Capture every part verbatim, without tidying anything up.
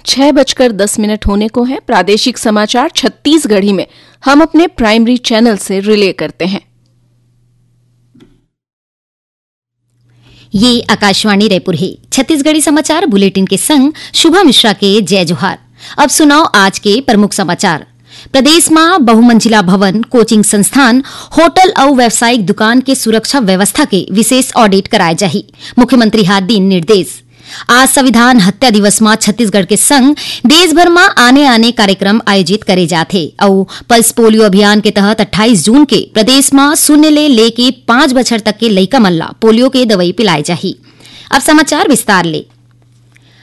छह बजकर दस मिनट होने को है। प्रादेशिक समाचार छत्तीसगढ़ी में हम अपने प्राइमरी चैनल से रिले करते हैं। ये आकाशवाणी रायपुर हे। छत्तीसगढ़ी समाचार बुलेटिन के संग शुभा मिश्रा के जय जोहार। अब सुनव आज के प्रमुख समाचार। प्रदेश म बहुमंजिला भवन, कोचिंग संस्थान, होटल अउ व्यावसायिक दुकान के सुरक्षा व्यवस्था के विशेष ऑडिट कराए जाही, मुख्यमंत्री ह दीन निर्देश। आज संविधान हत्या दिवस म छत्तीसगढ़ के संग देश भर म आने-आने कार्यक्रम आयोजित करे जाथे अउ पल्स पोलियो अभियान के तहत अट्ठाईस जून के प्रदेश म शून्य ले लेके पाँच बछर तक के लइका मन ला पोलियो के दवई पिलाए जाही। अब समाचार विस्तार ले।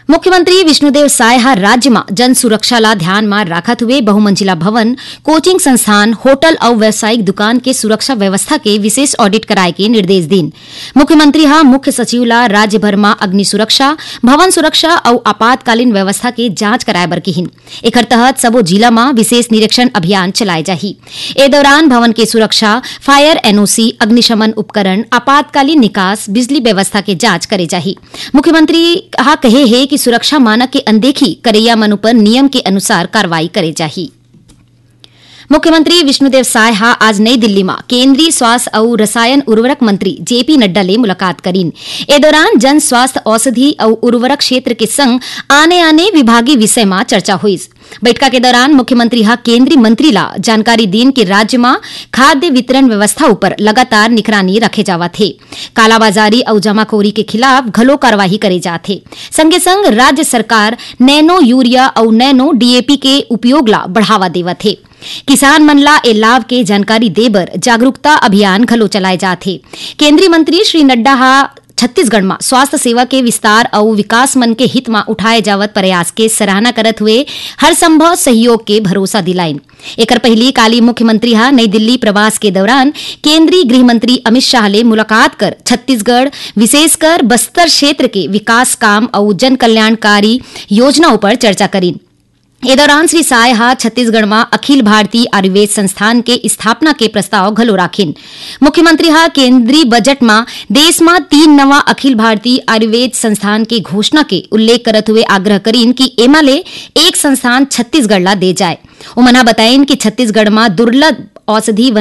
मुख्यमंत्री विष्णुदेव साय ह राज्य म जन सुरक्षा ला ध्यान म राखत हुए बहुमंजिला भवन, कोचिंग संस्थान, होटल अउ व्यावसायिक दुकान के सुरक्षा व्यवस्था के विशेष ऑडिट कराए के निर्देश दीन। मुख्यमंत्री ह मुख्य सचिव ला राज्य भर म अग्नि सुरक्षा, भवन सुरक्षा अउ आपातकालीन व्यवस्था के जांच कराए बर किहिन। एखर तहत सबो जिला म विशेष निरीक्षण अभियान चलाए जाही। ए दौरान भवन के सुरक्षा, फायर एनओसी, अग्निशमन उपकरण, आपातकालीन निकास, बिजली व्यवस्था के जांच करे जाही। मुख्यमंत्री ह कहे हे कि सुरक्षा मानक के अनदेखी करइया मन उपर नियम के अनुसार कार्रवाई करे जाही। मुख्यमंत्री विष्णुदेव साय ह आज नई दिल्ली म केंद्रीय स्वास्थ्य अउ रसायन उर्वरक मंत्री जेपी नड्डा ले मुलाकात करीन। ए दौरान जन स्वास्थ्य, औषधि अउ उर्वरक क्षेत्र के संग आने-आने विभागीय विषय म चर्चा होइस। बइठका के दौरान मुख्यमंत्री ह केंद्रीय मंत्री ला जानकारी दीन कि राज्य म खाद्य वितरण व्यवस्था उपर लगातार निगरानी रखे जावत हे। कालाबाजारी अउ जमाखोरी के खिलाफ घलो कार्रवाई करे जात हे। संगे संग राज्य सरकार नैनो यूरिया अउ नैनो डीएपी के उपयोग ला बढ़ावा देवत हे। किसान मन ला ए लाभ के जानकारी दे बर जागरूकता अभियान घलो चलाए जात हे। केंद्रीय मंत्री श्री नड्डा ह छत्तीसगढ़ म स्वास्थ्य सेवा के विस्तार अउ विकास मन के हित म उठाए जावत प्रयास के सराहना करत हुए हर संभव सहयोग के भरोसा दिलाइन। एकर पहिली काली मुख्यमंत्री ह नई दिल्ली प्रवास के दौरान केंद्रीय गृह मंत्री अमित शाह ले मुलाकात कर छत्तीसगढ़, विशेषकर बस्तर क्षेत्र के विकास काम अउ जन कल्याणकारी योजना उपर चर्चा करीन। ए दौरान श्री साय ह छत्तीसगढ़ म अखिल भारतीय आयुर्वेद संस्थान के स्थापना के प्रस्ताव घलो राखिन। मुख्यमंत्री ह केंद्रीय बजट म देश म तीन नवा अखिल भारतीय आयुर्वेद संस्थान के घोषणा के उल्लेख करत हुए आग्रह करीन कि एमा ले एक संस्थान छत्तीसगढ़ ला दे जाए। उमन ह बताइन कि छत्तीसगढ़ म दुर्लभ औषधि